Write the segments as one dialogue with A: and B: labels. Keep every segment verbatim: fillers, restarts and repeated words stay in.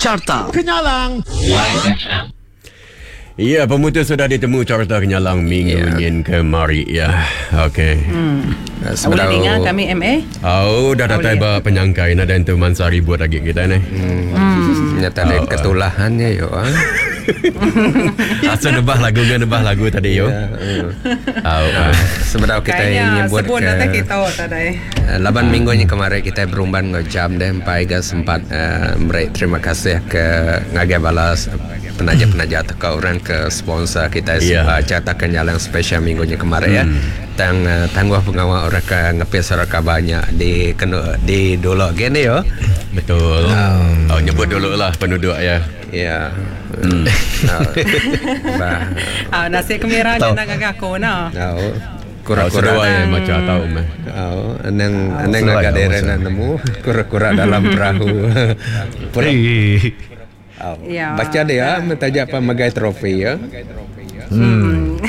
A: Carta Kenyalang.
B: Ya, pemutus sudah ditemu Carta Kenyalang minggu
C: Ya.
B: nyin kemari ya. Okey.
D: Hmm.
C: Sebelum
D: Boleh dengar kami M A?
B: Oh, dah datai
D: Boleh.
B: ba penyangkai nak dan tu mansa ribut lagi kita ni.
C: Hmm. Nyata
B: Oh,
C: oh, ketulahannya yo. ah.
B: Asal nebah lagu dengan nebah lagu tadi yo.
C: Ya, mm.
B: Oh, ah.
C: Sebelum kita
D: Kayaknya
C: nyebut
D: sebut
C: ke
D: nanti kita tadi.
C: Eh, Laban minggu ni kemarin kita berumban ngau jam deh empai ga sempat uh, merek terima kasih ke ngagai balas penaja-penaja atau ke orang ke sponsor kita
B: Ya.
C: yeah. uh, Carta Kenyalang spesial minggu ni kemarin ya. Tang uh, tangguh pengawal orang ke ngepis orang banyak di kena di dulu gini yo.
B: Betul. Oh, nyebut dulu lah penduduk ya.
C: Ya. Hmm. Bah.
D: Ah, nasi kemira
E: Tahu.
D: nak gagak aku nah.
C: Tahu.
B: Oh,
C: Kura-kura.
B: seduai yang macam tahu meh.
C: Oh, anang anang
E: Sesuai
C: agak
E: lah,
C: daerah
E: masa.
C: nak nemu kura-kura dalam perahu. Pura,
E: Eh.
C: oh.
D: Ya.
C: Baca dia minta apa megai trofi ya.
D: Hmm.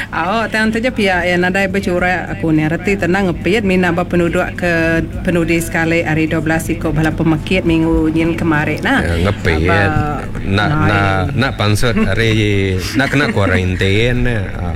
D: Oh, tang tu je pihak yang nadai bercurai aku ni reti tenang ngepit mina ba penduduk ke penudi sekali hari dua belas ikut bala pemekit minggu nyin kemarin nah.
C: Ya, ngepit.
D: Aba-
C: Nak nak nak pansut hari nak kena kuarantin.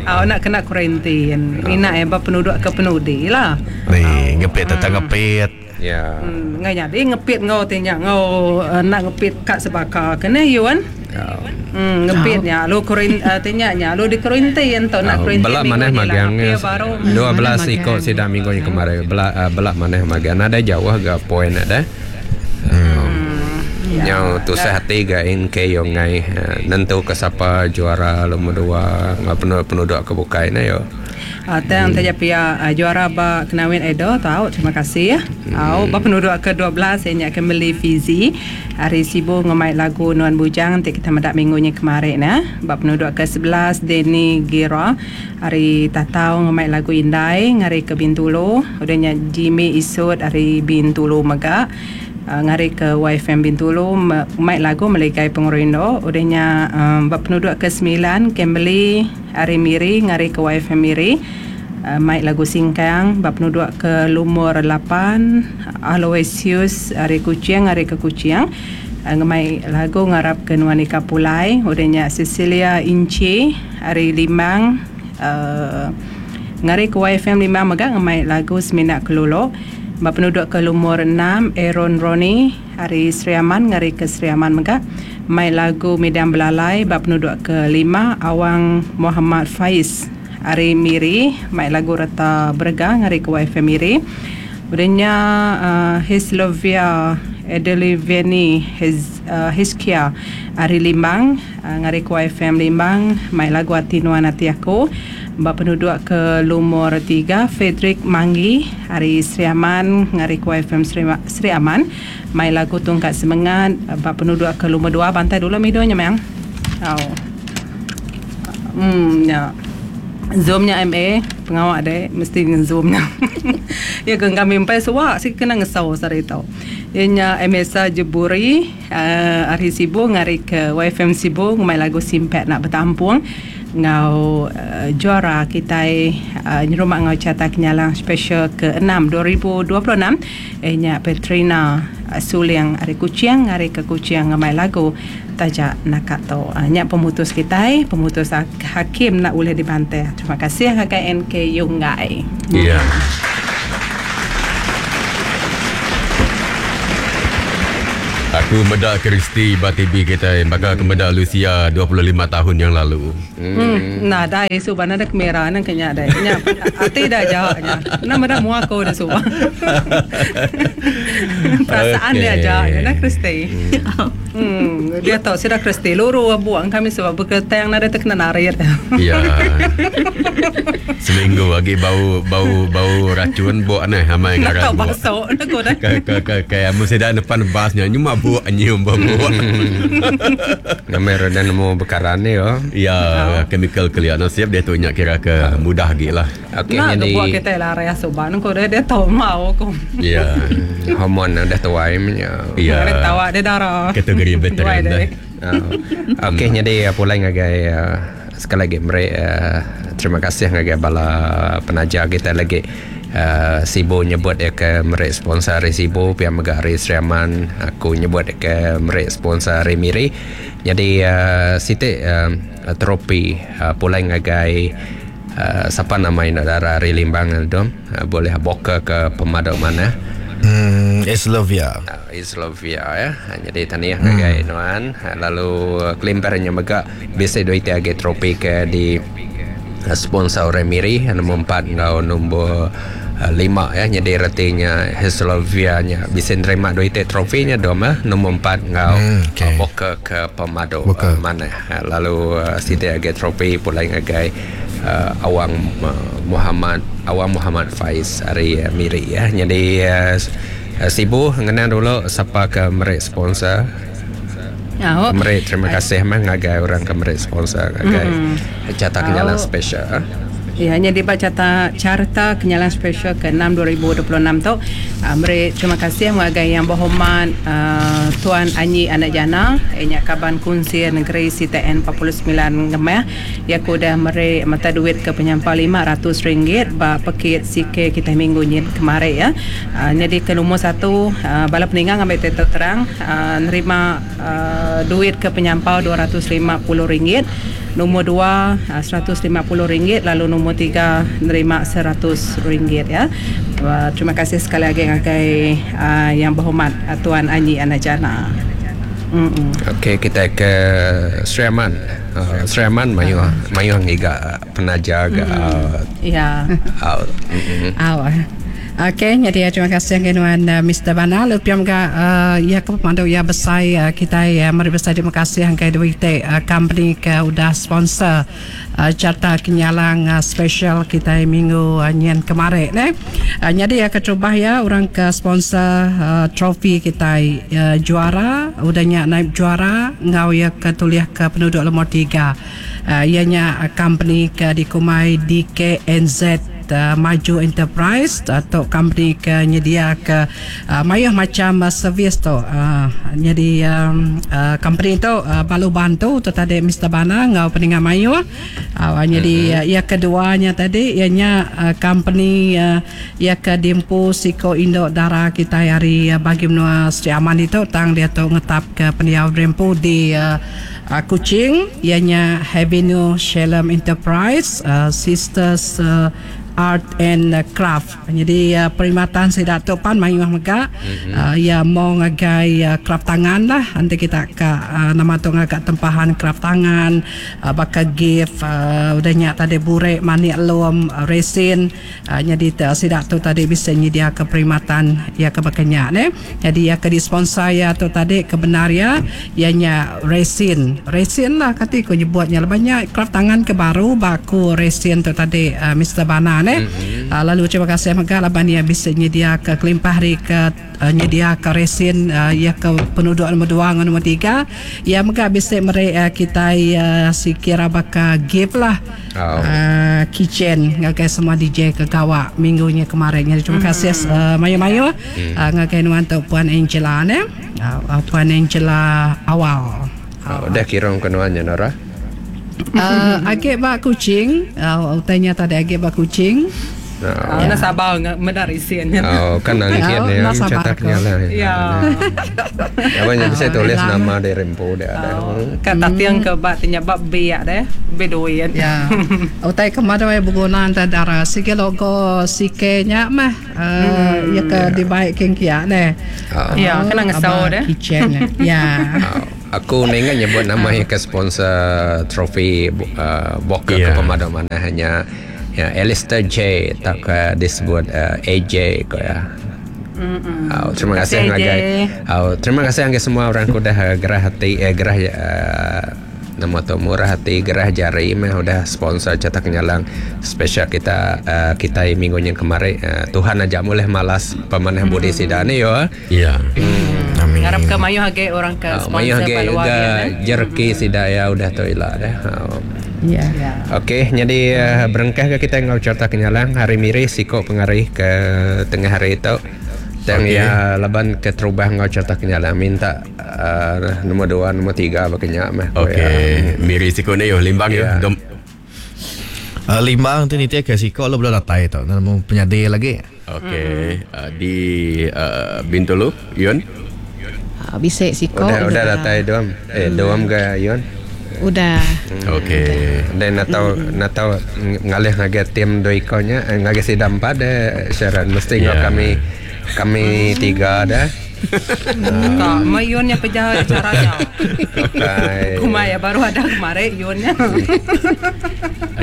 D: Oh, nak kena kuarantin. Mina eh ba penduduk ke penudi lah.
E: Ni ngepit tetap ngepit.
C: Ya.
D: Hmm, ngai jadi ngepit ngau tinya ngau uh, nak ngepit kat sebaka kena yuan.
C: Ya.
D: Hmm, ngepitnya lu kurin uh, tinya nya lu di kuarantin tu nak kuarantin.
C: Belak
D: minggu
C: mana
D: ni lah,
C: magang
D: hampir baru.
C: dua belas
F: Mana
C: ikut
F: magang.
C: sidang minggu yang kemarin belak uh, belak mana magang ada jauh agak poin ada.
D: Ya.
C: Yang tu hati ga in ke yang ngai eh, nentu ke siapa juara nombor dua ngah penduduk penduduk ke bukai na yo.
D: Ah, tang hmm. taja pia uh, juara ba kenawin Edo tahu terima kasih ya. Hmm. Ba penduduk ke dua belas saya nak kembali Fizi hari Sibu ngemai lagu Nuan Bujang nanti kita medak minggunya kemarin nah. Ba penduduk ke sebelas Denny Gira hari Tatau ngemai lagu Indai ngari ke Bintulu udahnya Jimmy Isud hari Bintulu mega. Uh, ngari ke Y F M Bintulu mai lagu Meligai Pengurindo udahnya um, bab penduduk ke sembilan Kimberly hari Miri ngari ke Y F M Miri uh, mai lagu Singkang bab penduduk ke lumur lapan Aloysius hari Kuching ngari ke Kuching uh, ngemai lagu ngarap ke Nuanika Pulai udahnya Cecilia Inci hari Limang uh, ngari ke Y F M Limang mega ngemai lagu Seminak Kelolo. Bab penduduk ke lumur enam Aaron Roni hari Sri Aman ngari ke Sri Aman mega mai lagu Medan Belalai. Bab penduduk ke lima Awang Muhammad Faiz hari Miri mai lagu Reta Berga ngari ke Y F M Miri. Udahnya uh, Hislovia Edeliveni His, uh, Hiskia hari Limbang uh, ngari ke Y F M Limbang mai lagu Ati Nuan Ati Aku. Bab penduduk ke lumur tiga Frederick Manggi hari Sri Aman ngari ke Y F M Sri, Sri Aman mai lagu Tungkat Semangat. Bab penduduk ke lumur dua bantai dulu midonya memang. Oh. Hmm ya. Zoomnya M A pengawak deh mesti zoomnya. Ya ke kami empai suak si kena ngesau sari tau. Ianya M S A Jeburi uh, hari Sibu ngari ke Y F M Sibu mai lagu Simpet nak bertampung ngau uh, juara kita uh, nyerumah ngau Carta Kenyalang special ke enam dua ribu dua puluh enam ianya Petrina uh, Suliang hari Kuching hari ke Kuching ngamai lagu Tajak Nakato. Uh, nya pemutus kita pemutus hakim nak boleh dibantai. Terima kasih K K N K Yunggai.
B: Ya. Aku medak Kristi Batibi kita maka aku medak Lucia dua puluh lima tahun yang lalu.
D: Hmm. Nah, dah isu bana dah kamera nang kenya dah. Nya ati dah jawabnya. Nah, medak mua aku dah suba. Perasaan
B: okay.
D: dia jawabnya nah Kristi. Hmm, dia tahu sudah Kristi luru buang kami sebab berketang nada terkena narir.
B: Ya. Seminggu lagi bau bau bau racun buak nah amai
D: ngaran. Nak tahu basok nak kau dah.
B: Ke ke ke ke mesti dah depan basnya nyuma buak nyium buak.
C: Nama dan nemu bekaran ni yo.
B: Ya, chemical clear nasib dia tu nyak kira ke mudah gila.
C: Okey
D: jadi
C: jadi
D: buat kita lah raya soban kau dia dia tahu mau aku.
B: Ya.
C: Hormon dah tuai nya.
B: Ya.
D: Dia tahu dia darah.
B: Kategori veteran dah.
C: Okey jadi pulang ngagai sekali lagi mereka uh, terima kasih ngagai bala penaja kita lagi. Uh, Sibu nyebut dia ke merik sponsor hari Sibu, pihak mega hari Sri Aman aku nyebut dia ke merik sponsor hari Miri. Jadi uh, sitik uh, trofi uh, pulai ngagai uh, siapa nama ini darah hari Limbang dom uh, boleh boka ke pemaduk mana?
E: Hmm, Islovia.
C: Uh, Islovia ya. Jadi tahniah hmm. ngagai nuan. Lalu kelimparnya mega bisa duit agi trofi ke di sponsor orang Miri nombor empat ngau nombor lima ya. Jadi retinya Islovia nya bisa nerima duit trofinya dom eh nombor empat ngau hmm, okay. boka ke pemaduk uh, mana. Lalu uh, siti agi trofi pulai ngagai uh, Awang uh, Muhammad Awang Muhammad Faiz hari uh, Miri ya. Jadi uh, Sibu ngenang dulu siapa ke merik sponsor.
D: Oh.
C: Merik terima kasih mah ngagai orang ke merik sponsor ngagai mm. Carta Kenyalang special.
D: Ya, hanya dibaca carta, carta Kenyalang special ke enam dua ribu dua puluh enam tu. Uh, merik terima kasih ngagai yang berhormat uh, Tuan Anyi Anak Jana, inya kaban kunsi negeri C T N empat puluh sembilan Ngemah. Ya ku dah merik mata duit ke penyampa lima ratus ringgit ba pekit C K kita minggu ni kemarin ya. Uh, jadi ke nombor satu uh, bala peninggang ambil titel terang uh, nerima uh, duit ke penyampau dua ratus lima puluh ringgit. Nombor dua seratus lima puluh ringgit, lalu nombor tiga nerima seratus ringgit ya. Uh, terima kasih sekali lagi ngagai uh, yang berhormat uh, Tuan Anyi Anak Jana.
C: Okey, kita ke Sri Aman. Uh, Sri Aman mayu mayu ngiga penaja ga.
D: Ya.
F: Aw. Okey, jadi terima kasih dengan uh, Mister Bana. Lepas juga uh, ya ke pemandu ya besar uh, kita ya mari besar terima kasih hangkai duit uh, company ke udah sponsor uh, carta Kenyalang uh, special kita minggu uh, nyen kemarin ne. Uh, jadi ya keterubah ya orang ke sponsor uh, trofi kita uh, juara udahnya naib juara ngau ya ke tuliah ke penduduk nombor tiga. Uh, ianya uh, company ke dikumai D K N Z Uh, Maju Enterprise atau company ke nyedia ke uh, mayuh macam uh, servis tu uh, jadi um, uh, company tu uh, balu bantu tu tadi Mister Bana ngau peningan mayuh uh, jadi mm-hmm. uh, ia keduanya tadi ianya uh, company uh, ia ke dimpu siko indok darah kita hari uh, bagi menua Sri Aman itu tang dia tu ngetap ke pendiau rempu di uh, Uh, Kuching ianya Avenue Shalom Enterprise uh, Sisters uh, Art and Craft. Jadi uh, perkhidmatan saya Datuk Pan mayuh mega mm-hmm. uh, ya mau ngagai uh, craft tangan lah. Nanti kita ke uh, nama tu ngagak tempahan craft tangan uh, bakal gift uh, udah nyak tadi burek manik lom uh, resin uh, jadi uh, saya Datuk tadi bisa nyedia ke perkhidmatan ya ke bakanya ne. Jadi ya ke di sponsor ya tu tadi kebenar ya ianya resin. Resin lah kati ko nyebutnya banyak craft tangan ke baru baku resin tu tadi uh, Mister Bana ne. Mm-hmm. Uh, lalu terima kasih mega laban ia bisa nyedia ke kelimpah hari ke uh, nyedia ke resin uh, ia ke penduduk nombor dua dengan nombor tiga ia mega bisa mere uh, kita uh, sikira baka gift lah oh. uh, kitchen ngagai semua D J ke gawak minggunya kemarin. Jadi terima kasih uh, mayu-mayu mm. uh, ngagai nuan tu Puan Angela ne uh, Puan Angela awal.
C: Oh, dah kira ke nuannya Nora.
F: Uh, agak bak kucing, uh, tanya tadi agak bak kucing.
D: Oh, ya. Nak sabar ngak medar isian.
C: Oh, kan nangkit ni cetaknya lah.
D: Ya.
C: Apa yang bisa tulis nama di rempo dia ada.
D: Kan tatiang ke bak tanya bak biak deh, bedoyan.
F: Ya. Utai kemarin berguna antara sikit logo sikitnya mah ya ke dibaik kengkia ne.
D: Ya, kena ngesau deh.
F: Kitchen. Ya.
C: Aku ingat nyebut nama yang ke sponsor trofi uh, Boker yeah. ke pemadam mana hanya ya Alistair J tak ke disebut uh, A J ko ya. Oh, terima kasih ngagai. Oh, terima kasih ngagai semua orang ku dah uh, gerah hati eh gerah uh, nama tu murah hati gerah jari meh udah sponsor cetak kenyalang spesial kita uh, kita minggu yang kemarin uh, Tuhan ajak mulai malas pemanah budi sidane yo.
B: Ya.
D: Hmm. Amin. Ngarap ke mayu hage orang ke sponsor
C: mayu hage ga jerki sidaya udah tu ila dah. Oh.
F: Ya.
C: Okey, jadi uh, berengkah ke kita ngau cerita kenyalang hari miri siko pengarih ke tengah hari itu. Dan okay. Ya laban ke terubah ngau cerita kenyalang minta uh, nombor dua, nombor tiga bakenya mah.
B: Okey, ya. Miri siko ni yo limbang yo.
C: Yeah.
B: Dom.
E: Uh, Limbang tu ni ke siko lo belum datai tu. Nemu penyadi lagi.
B: Okey, uh, di uh, Bintulu, Yun.
G: Uh, bisik siko
C: Udah udah datai doam. Eh doam ke Yun?
G: Udah.
B: Okey.
C: Dan natau natau ngalih ngagai tim dua ikonya ngagai sidang empat deh Sharon mesti yeah. kami kami tiga dah.
D: Kak, Mayun yang pejah caranya. Kumai ya baru ada kemarin Yunnya.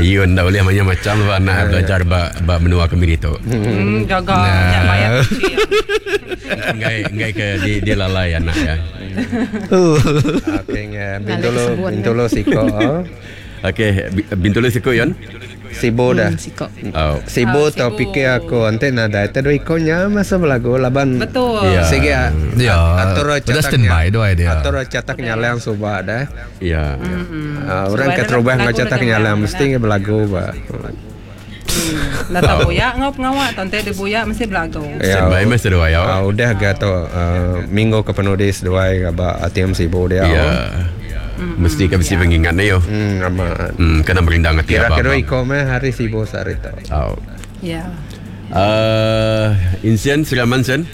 B: Yun dah boleh macam-macam anak belajar ba ba menua kami tu.
D: Hmm, jaga nah. Bayar kecil.
B: Ngai ngai ke di dia lalai anak ya.
C: Okey, Bintulu Bintulu siko.
B: Okey, Bintulu siko Yun.
C: Sibu dah.
G: Hmm, siko.
B: Oh.
C: Sibu tau fikir aku nanti nada itu dua ikonya masa belagu laban.
D: Betul.
B: Ya.
C: Sige
E: ya.
C: Atur
E: cetaknya. Standby dua dia.
C: Atur cetak nyalang suba dah.
B: Ya.
C: Uh, orang keterubah ngau cetak nyalang mesti belagu ba.
D: Dah tak buyak ngau pengawak tonte di buyak mesti belagu.
B: Standby mesti dua ya.
C: Ah udah ga tu minggu ke penulis dua ba A T M Sibu dia.
B: Ya. Mesti kan mesti pengingat ni yo.
C: Hmm, amat.
B: Hmm, kena merindang hati
C: apa. Kira-kira iko meh hari Sibu sehari tu.
B: Oh.
D: Ya.
B: Uh, Insian Suraman sen.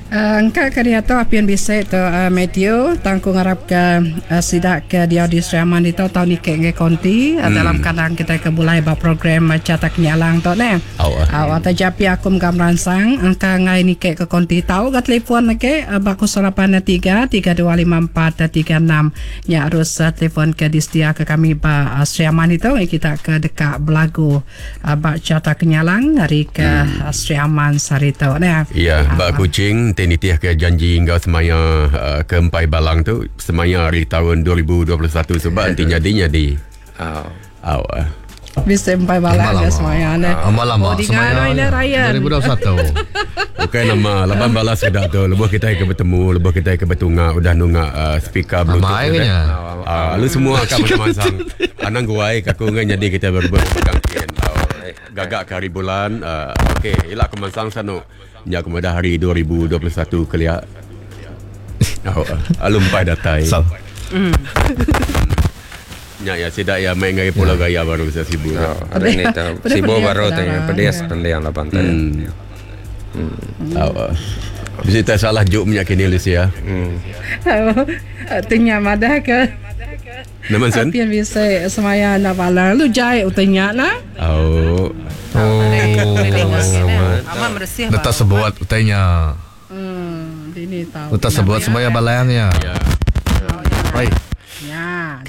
F: Uh, engkau ke dia tu apian bisa tu uh, Matthew tangku ngarap ke uh, sidak ke dia di Suraman itu tahun ni ke nge konti uh, hmm. dalam kadang kita ke bulai ba program uh, cetak nyalang tu ne.
B: Oh.
F: Uh, atau japi aku menggam ransang engkau ngai ni ke ke konti tahu ke telefon ke uh, baku lapan tiga tiga dua lima empat tiga enam nya harus uh, telefon ke distia ke kami ba uh, Suraman itu kita ke dekat belagu uh, ba cetak nyalang hari ke hmm. uh, Suraman sehari tu ne.
B: Ya, ba kucing Tinitiah ke janji hingga semaya uh, ke empai balang tu semaya hari tahun dua ribu dua puluh satu sebab nanti jadinya di
C: oh.
B: Oh.
F: Bisa empai balang ya semaya ne.
E: Lama-lama semaya dua ribu dua puluh satu.
B: Bukan nama lapan balas sudah tu lebuh kita ke bertemu lebuh kita ke bertunga udah nunga uh, speaker bluetooth kan. Ah uh, lu semua akan masang. Anang guai aku ngan jadi kita berbual pegang gagak ke hari bulan uh, okey elak aku masang sanu. Ya kemudian hari dua ribu dua puluh satu keliak. Oh, alum pai datai.
E: So.
D: Mm.
B: Ya ya sidak ya main ngai pulau gaya baru saya sibuk.
C: Oh, hari ni tu sibuk baru tengah pedes pendiang lah pantai.
B: Hmm. Oh. Bisa tak salah juk minyak kini Lucia.
C: Hmm.
F: Tengah madah ke?
B: Nama sen?
F: Apian bisa semaya nak balang lu jai utanya lah.
B: Oh.
E: Oh.
D: Amat bersih.
E: Letak sebuat utanya.
F: Hmm, ini tahu.
E: Letak sebuat semaya balangnya.
B: Ya.
E: Baik.
F: Ya.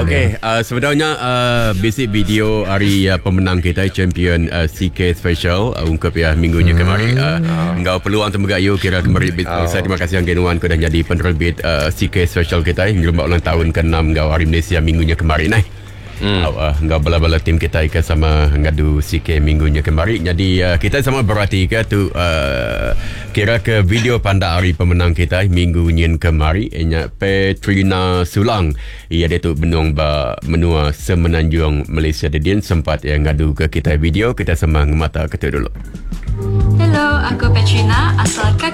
B: Okey, uh, sebenarnya uh, basic video hari uh, pemenang kita champion uh, C K special uh, ungkap ya minggunya hmm. kemarin. Uh, engkau peluang temegayu kira kemarin oh. Saya terima kasih yang Genuan kau dah jadi penerbit uh, C K special kita yang ulang tahun ke enam engkau hari Malaysia minggunya kemarin eh. Hmm. Uh, engkau bala-bala tim kita ikan sama ngadu C K minggunya kemarin. Jadi uh, kita sama berarti ke tu uh, kira ke video pandak hari pemenang kita minggu nyin kemari ianya Petrina Sulang. Ia dia tu benung ba menua Semenanjung Malaysia dedin sempat yang ngadu ke kita video kita sama ngemata ke tu dulu.
H: Hello, aku Petrina asal